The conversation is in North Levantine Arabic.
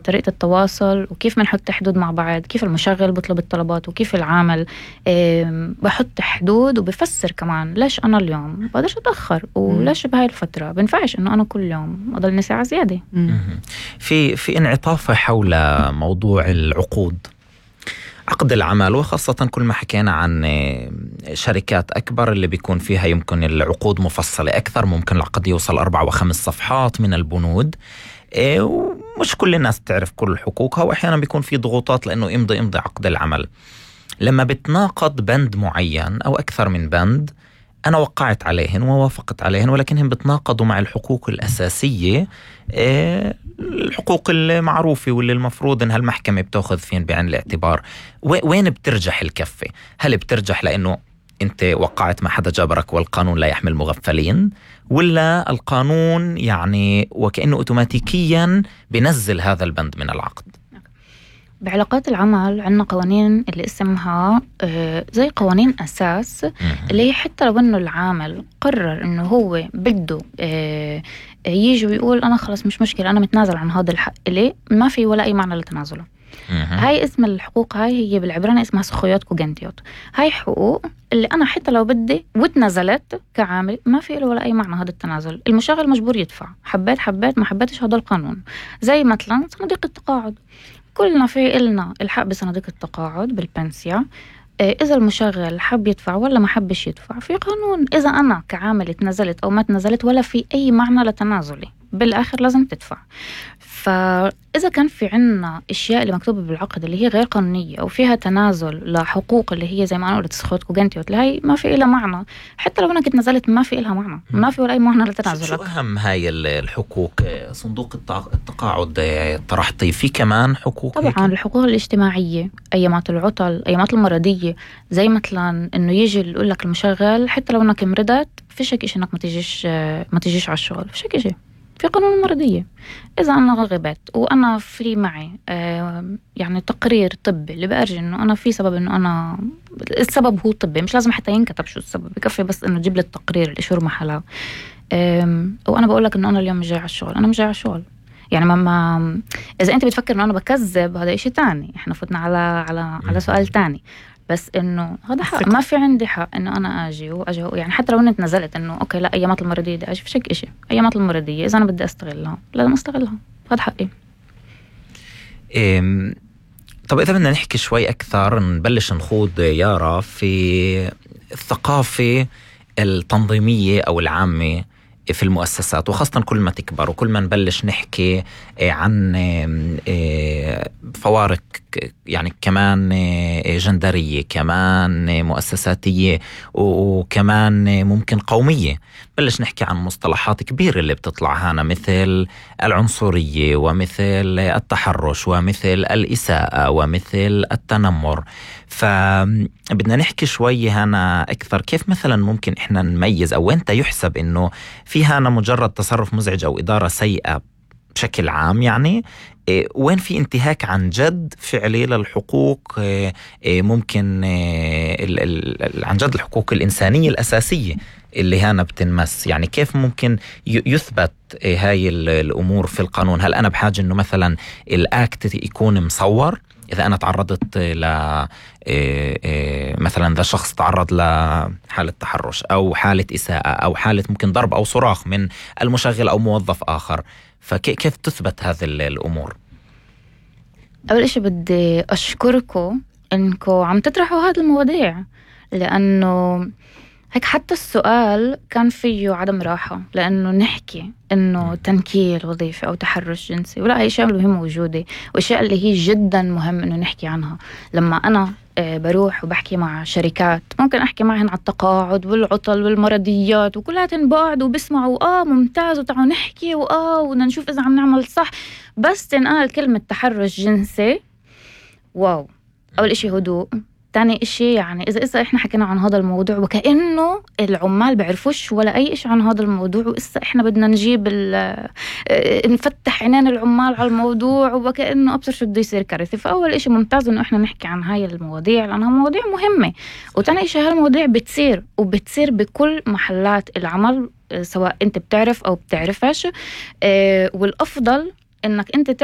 طريقة التواصل وكيف منحط حدود مع بعض، كيف المشغل بطلب الطلبات وكيف العامل. بحط حدود وبفسر كمان ليش أنا اليوم بقدرش أتأخر وليش بهاي الفترة بنفعش إنه أنا كل يوم أضلني ساعة زيادة. في انعطاف حول موضوع العقود، عقد العمل، وخاصة كل ما حكينا عن شركات أكبر اللي بيكون فيها يمكن العقود مفصلة أكثر، ممكن العقد يوصل 4 و5 صفحات من البنود، ومش كل الناس تعرف كل حقوقها، وأحيانا بيكون في ضغوطات لأنه امضي عقد العمل. لما بتناقض بند معين أو أكثر من بند، أنا وقعت عليهن ووافقت عليهن ولكنهم بتناقضوا مع الحقوق الأساسية، الحقوق المعروفة واللي المفروض إنها المحكمة بتأخذ فين بعين الاعتبار. وين بترجح الكفة؟ هل بترجح لأنه أنت وقعت مع حدا جبرك والقانون لا يحمل مغفلين، ولا القانون يعني وكأنه أوتوماتيكيا بنزل هذا البند من العقد؟ بعلاقات العمل عندنا قوانين اللي اسمها زي قوانين أساس، اللي حتى لو أنه العامل قرر أنه هو بده يجي ويقول أنا خلص مش مشكلة أنا متنازل عن هذا الحق إليه، ما في ولا أي معنى لتنازله. هاي اسم الحقوق، هاي هي بالعبراني اسمها سخويات كوجنتيوت. هاي حقوق اللي أنا حتى لو بدي وتنازلت كعامل ما في له ولا أي معنى هذا التنازل. المشغل مجبور يدفع، حبيت ما حبيتش، هذا القانون. زي مثلا صناديق التقاعد، كلنا في إلنا الحق بصناديق التقاعد بالبنسيا. إذا المشغل حب يدفع ولا ما حبش يدفع في قانون. إذا أنا كعامل تنزلت أو ما تنزلت ولا في أي معنى لتنازلي، بالآخر لازم تدفع. فإذا كان في عنا أشياء اللي مكتوبة بالعقد اللي هي غير قانونية أو فيها تنازل لحقوق اللي هي زي ما أنا قلت سخوت كوجنتيوت، هاي ما في إلها معنى. حتى لو أنا كنت نزلت ما في إلها معنى، ما في ولا أي معنى لتنازلك. شو أهم هاي الحقوق؟ صندوق التقاعد طرحتي في كمان حقوق طبعا هيك؟ الحقوق الاجتماعية، أيامات العطل، أيامات المرضية، زي مثلا إنه يجي يقول لك المشغل حتى لو إنك مرضت فيش هيك إشي إنك ما تجيش على الشغل، فيش هيك إشي في قانون المرضية. إذا أنا غبت وأنا في معي يعني تقرير طبي اللي بأرجي إنه أنا في سبب، إنه أنا السبب هو طبي، مش لازم حتى ينكتب شو السبب، بكفي بس إنه تجيب لي التقرير اللي شو محله. وأنا بقول لك إنه أنا اليوم مش جاي على الشغل، أنا مش جاي على الشغل. يعني ما إذا أنت بتفكر إنه أنا بكذب هذا إشي تاني، إحنا فتنا على سؤال تاني. بس إنه هذا حق، ما في عندي حق إنه أنا أجي يعني حتى لو أنت نزلت إنه أوكي لا أيامات المرضية بدي أجي، فيش هيك إشي. أيامات المرضية إذا أنا بدي أستغلها لازم أستغلها، هذا حقي. طب إذا بدنا نحكي شوي أكثر، نبلش نخوض يارا في الثقافة التنظيمية أو العامة في المؤسسات، وخاصة كل ما تكبر وكل ما نبلش نحكي عن فوارق يعني كمان جندرية، كمان مؤسساتية، وكمان ممكن قومية. بلش نحكي عن مصطلحات كبيرة اللي بتطلع هنا، مثل العنصرية ومثل التحرش ومثل الإساءة ومثل التنمر. فبدنا نحكي شوي هنا أكثر كيف مثلا ممكن إحنا نميز، أو أنت يحسب إنه في هنا مجرد تصرف مزعج أو إدارة سيئة بشكل عام، يعني وين في انتهاك عن جد فعلي للحقوق، ممكن عن جد الحقوق الإنسانية الأساسية اللي هنا بتنمس. يعني كيف ممكن يثبت هاي الأمور في القانون؟ هل أنا بحاجة إنه مثلا الأكت يكون مصور؟ إذا أنا تعرضت مثلا إذا شخص تعرض لحالة تحرش أو حالة إساءة أو حالة ممكن ضرب أو صراخ من المشغل أو موظف آخر، فكيف تثبت هذه الأمور؟ أول إشي بدي أشكركم إنكم عم تطرحوا هذه المواضيع، لأنه هيك حتى السؤال كان فيه عدم راحة، لأنه نحكي إنه تنكيل وظيفي أو تحرش جنسي ولا هي أشياء مهمة موجودة، وأشياء اللي هي جدا مهم إنه نحكي عنها. لما أنا بروح وبحكي مع شركات ممكن أحكي معهن على التقاعد والعطل والمرضيات وكلها تنبعد وبسمعوا ممتاز وتعالوا نحكي وبدنا نشوف إذا عم نعمل صح، بس تنقال كلمة تحرش جنسي واو. أول إشي هدوء، تاني إشي يعني إذا إحنا حكينا عن هذا الموضوع وكأنه العمال بعرفوش ولا أي إشي عن هذا الموضوع، وإسا إحنا بدنا نجيب نفتح عينين العمال على الموضوع وكأنه أبصر شو بده يصير كارثة. فأول إشي ممتاز إنه إحنا نحكي عن هاي المواضيع لأنها مواضيع مهمة. وتاني إشي هالمواضيع بتصير بكل محلات العمل، سواء أنت بتعرف أو بتعرفش، والأفضل إنك أنت تعرف